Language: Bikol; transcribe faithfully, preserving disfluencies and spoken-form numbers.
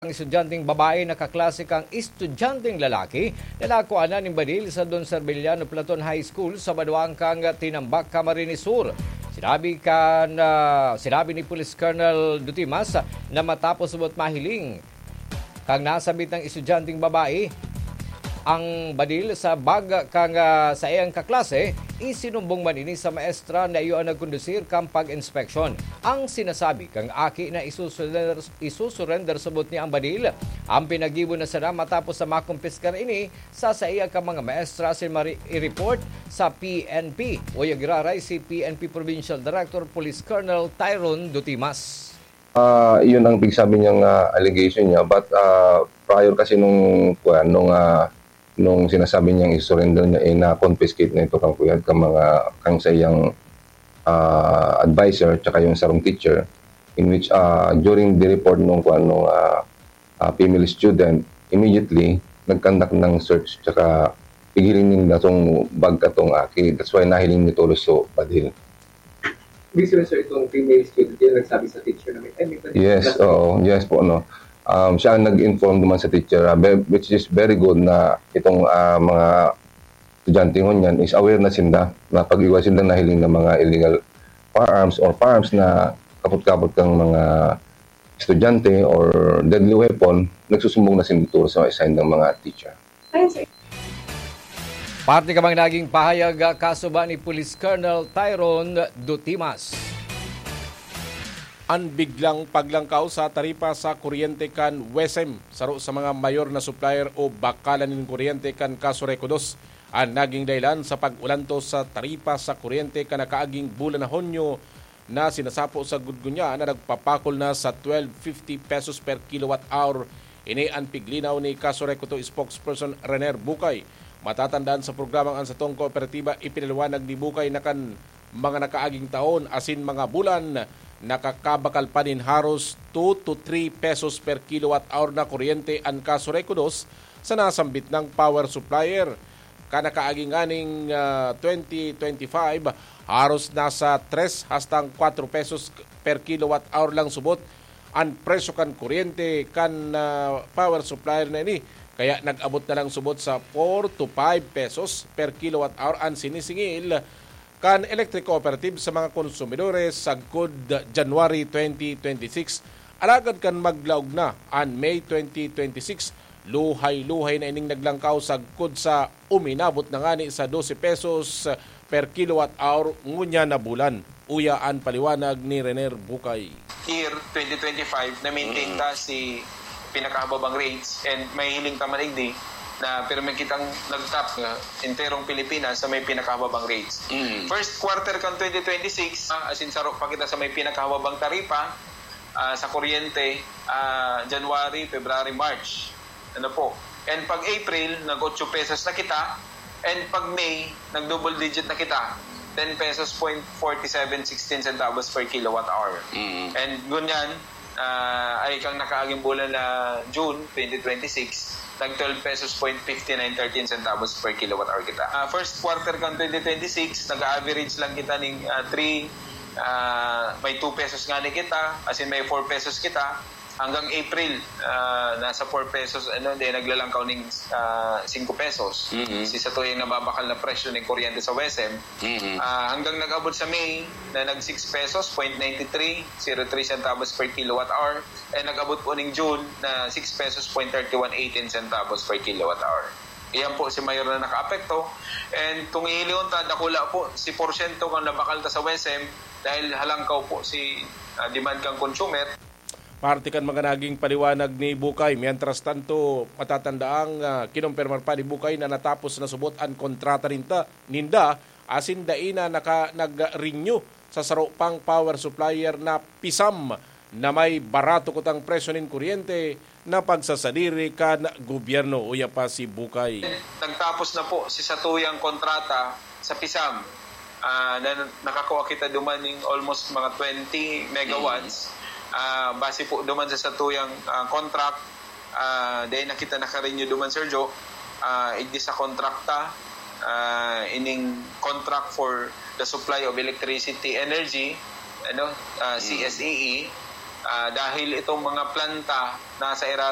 Ang estudyanteng babae nakaklase kang estudyanteng lalaki na nakuanan nin badil sa Don Serviliano Platon High School sa Badoang kang Tinambac, Camarines Sur. Sinabi kan, ah, sinabi ni Police Colonel Dutimas na matapos subot mahiling kang nasabit ng estudyanteng babae ang badil sa bag kang, ah, saiyang kaklase, isinumbong man ini sa maestra na iyo ang nagkondusir kan pag-inspeksyon. Ang sinasabi kang aki na isusurrender, isusurrender subot niya ang badil, ang pinaggibo na sana matapos sa makumpiskar ini sa saiya ka mga maestra asin mari-, i-report sa P N P o giraray si P N P Provincial Director Police Colonel Tyrone Dutimas. Ah, yun ang pigsabi niyang, ah, allegation niya. But, ah, prior kasi nung, kuwan, nung, ah, nung sinasabi niyang i-surrender niya, eh, na-confiscate na ito kang kuya, kang mga, kang sa iyang, ah, advisor, tsaka yung sarong teacher, in which, ah, during the report nung, kuwan, nung, ah, ah, female student, immediately, nag-conduct ng search, tsaka pigiling ninda tong bag katong aki. That's why nahiling ni Toloso badil. Ibig sabihin, sir, itong female student, yung nagsabi sa teacher na may, ay, may badil. Yes, oo. Yes po, no. Um, siya ang nag-inform naman sa teacher, ah, ve-, which is very good na itong, ah, mga estudyante ngunyan is aware na sinda na pag-iwas sinda nahiling ng mga illegal firearms or firearms na kapot-kapot kang mga estudyante or deadly weapon, nagsusumbong na sinda sa assign ng mga teacher. Parte ka bang naging pahayag, ah, kasuba ni Police Colonel Tyrone Dutimas? An biglang paglangkaw sa taripa sa kuryente kan WESM, saro sa mga mayor na supplier o bakalan nin kuryente kan Casureco Dos, an naging dahilan sa pag-ulantos sa taripa sa kuryente kan nakaaging bulan na Hunyo, na sinasapo sa gudgunya na nagpapakol na sa twelve fifty pesos per kilowatt hour. Ini an piglinaw ni Casureco Dos spokesperson Rener Bucay. Matatandaan, sa programang An Satong Kooperatiba, ipinaliwanag ni Bucay na kan mga nakaaging taon asin mga bulan, nakakabakal pa nin haros two to three pesos per kilowatt hour na kuryente an Casureco Dos sa nasambit nang power supplier. Kan nakaaging aning, ah, twenty twenty-five, haros nasa tres hastang kwatro pesos per kilowatt hour lang subot an presyo kan kuryente kan, ah, power supplier na ini. Kaya nag-abot na lang subot sa four to five pesos per kilowatt hour an sinisingil kan electric cooperative sa mga konsumidores sagkod January twenty twenty-six. Alagad kan maglaog na an May twenty twenty-six, luhay-luhay na ining naglangkaw sagkod sa uminabot na ngani sa dose pesos per kilowatt hour ngunyan na bulan. Uya an paliwanag ni Rener Bucay. Year twenty twenty-five, na-maintain Mm. ta si pinakahababang rates, and mahihiling ta man igdi na pirmi kitang nag-top nga enterong Pilipinas sa may pinakahababang rates. Mm. First quarter kan twenty twenty-six, ah, as in, saro pa kita sa may pinakahababang taripa, ah, sa kuryente, ah, January, February, March. Ano po? And pag April, nag-otso pesos na kita. And pag May, nag-double digit na kita. Ten pesos point forty seven sixteen centavos per kilowatt hour. Mm. And ngunyan, ah, ay kang nakaaging bulan na June twenty twenty-six, nag twelve pesos point fifty nine thirteen centavos per kilowatt hour kita. Ah, first quarter kan twenty twenty-six, nag-average lang kita ning, ah, three, ah, may two pesos ngani kita, as in may four pesos kita. Hanggang April, ah, nasa four pesos, ano, di naglalangkaw ning, ah, singko pesos. Mm-hmm. Si sa tuyang nababakal na presyo ning kuryente sa WESM. Mm-hmm. Ah, hanggang nag-abot sa May na nag six pesos, point nine three zero three centavos per kilowatt hour, and nag-abot po ning June na six pesos, point thirty one eighteen centavos per kilowatt hour. Iyan po si Mayor na nakaapekto. And kung ihilihon ta, dakula po si porsyento kang nabakal ta sa WESM dahil halangkaw po si, ah, demand kang consumer. Parte kan mga naging paliwanag ni Bucay. Mientras tanto, matatandaang, ah, kinumpirmar pa ni Bucay na natapos na subot an kontrata ninta, ninda, asin dai na naka-, nag-renew sa saro pang power supplier na PISAM, na may barato kutang presyo nin kuryente na pagsasadiri kan gobyerno. Uya pa si Bucay. Nagtapos na po si satuyang kontrata sa PISAM. Ah, na, nakakua kita duman ning almost mga twenty megawatts. Mm. Ah, base po duman sa satuyang, ah, contract, ah, dahil na kita naka-renew duman, Sir Joe, ah, igdi sa contract ta, ah, ining contract for the supply of electricity energy, ano, ah, Mm. C S E E, ah, dahil itong mga planta nasa irarom